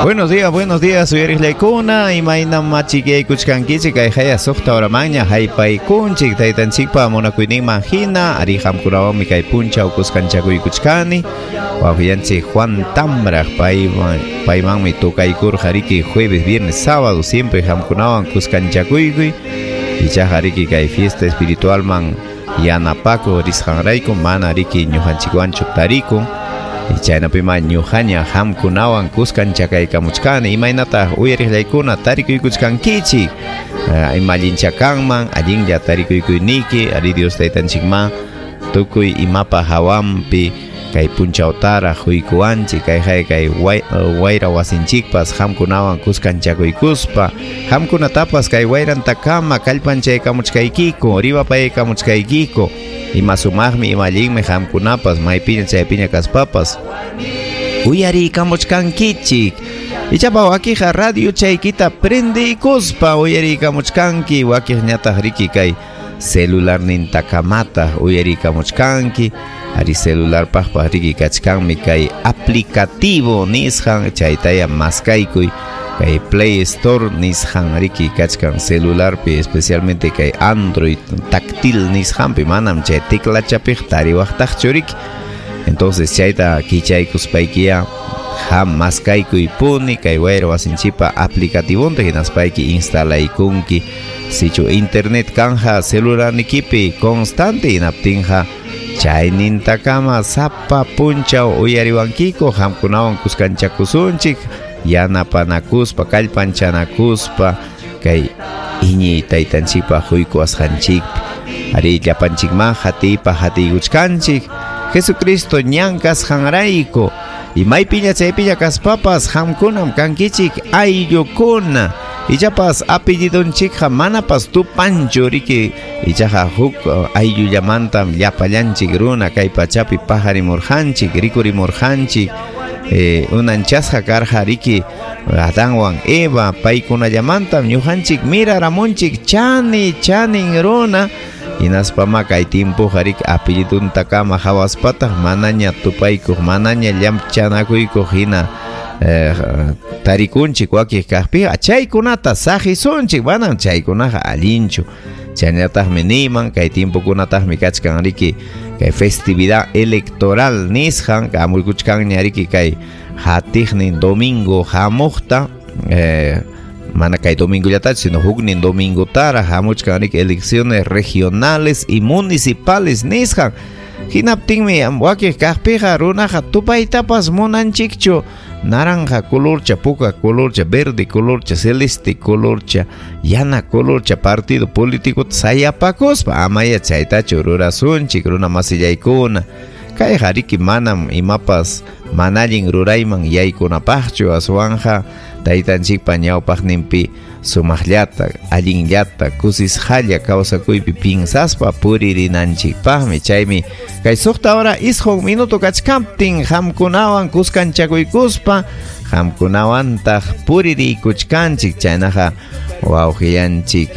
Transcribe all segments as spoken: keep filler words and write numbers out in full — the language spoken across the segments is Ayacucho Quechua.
Buenos días, buenos días, uyariqllaykuna, imaynam machikaykuchkankichik kay haya suqta horamanña haypaykunchik taytanchikpa munakuyninman hina ari qamkunawanmi kay punchaw kuskanchakuykuchkani wawqiyanchik Juan Tambraq payman paymanmi tukaykurqa riki jueves, viernes, sábado siempre qamkunawan kuskanchakuykuy ichaqa riki kay fiesta espiritualman yanapakuq risqanrayku mana riki ñuqanchikwanchu tarikun. Chaynapima ñuqaña qamkunawan kuskanchakaykamuchkani imaynataq uyariqllaykuna tarikuykuchkankichik ima allincha kanman allinlla tarikuykuyniki ari Dios taytanchikman tukuy imapa hawanpi kay punchawtaraq huykuwanchik kay hay kay wayra wasinchikpas qamkunawan kuskanchakuykuspa qamkunatapas kay wayrantakama kallpanchaykamuchkaykiku ripapaykamuchkaykiku ima sumaqmi ima allinmi qamkunapas maypiña chaypiña kaspapas uyariykamuchkankichik ichapa wakiqa radio chaykita prendiykuspa uyariykamuchkanki wakiqñataq riki kay celularnintakamata uyariykamuchkanki ari celularpaqpas riki kachkanmi kay aplicativo nisqan chaytaya maskaykuy kay Play Store nisqan riki kachkan celularpi especialmente kay Android táctil nisqanpi manam chay teclachapiq tariwaqtaqchu riki entonces chayta kichaykuspaykiya ham maskaykuy puni kay wayra wasinchikpa aplicativonta hinaspayki instalaykunki sichu internet kanja celularnikipi constante hinaptinqa chaynintakama sapa punchaw uyariwankiku qamkunawan kuskanchakusunchik yanapanakuspa kallpanchanakuspa kay iñiy taytanchikpa huykuwasqanchikpi ari llapanchikman hatiypa hatiykuchkanchik Jesucristo ñan kasqanrayku imaypiña chaypiña kaspapas qamkunam kankichik ayllukuna ichapas apellidunchikqa manapas tupanchu riki ichaqa huk ayllullamantam llapallanchik runa kay pachapi pajarimurqanchik rikurimurqanchik Eh, unanchasqa karqa riki Adanwan Eva paykunallamantam ñuqanchik miraramunchik chani chanin runa hinaspama kay timpuqa riki apelliduntakama hawaspataq manaña tupaykuq manaña llamchanakuykuq hina eh, tarikunchik wakiq kaqpiqa chaykunata saqisunchik manam chaykunaqa allinchu chaynataqmi niman kay timpukunataqmi kachkan riki kay festividad electoral nisqan hamuykuchkanña riki kay hatiqnin domingo hamuqta eh, mana kay domingollatachu sino huknin domingotara hamuchkan riki elecciones regionales y municipales nisqan hinaptinmi wakiq kaqpiqa runaqa tupaytapas munanchikchu naranja colorcha, puka colorcha, verde colorcha, celeste colorcha, yana colorcha partido político sayapakuspa amaya chaytachu rurasunchik runa masillaykuna kayqa riki manam imapas mana allin rurayman yaykunapaqchu aswanja taytanchikpa ñawpaqninpi sumaqllata allinllata kusisqalla kawsakuypi pinsaspa puririnanchikpaqmi chaymi kay suqta hora isqun minuto kachkaptin qamkunawan kuskanchakuykuspa qamkunawantaq puririykuchkanchik chaynaqa wawqiyanchik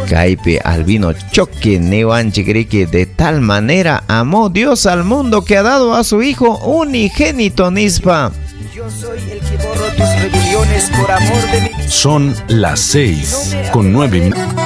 kaypi Albino Choque niwanchik riki de tal manera amó Dios al mundo que ha dado a su hijo unigénito nispa. Yo soy el que borro tus rebeliones por amor de mí. Son las seis con nueve minutos.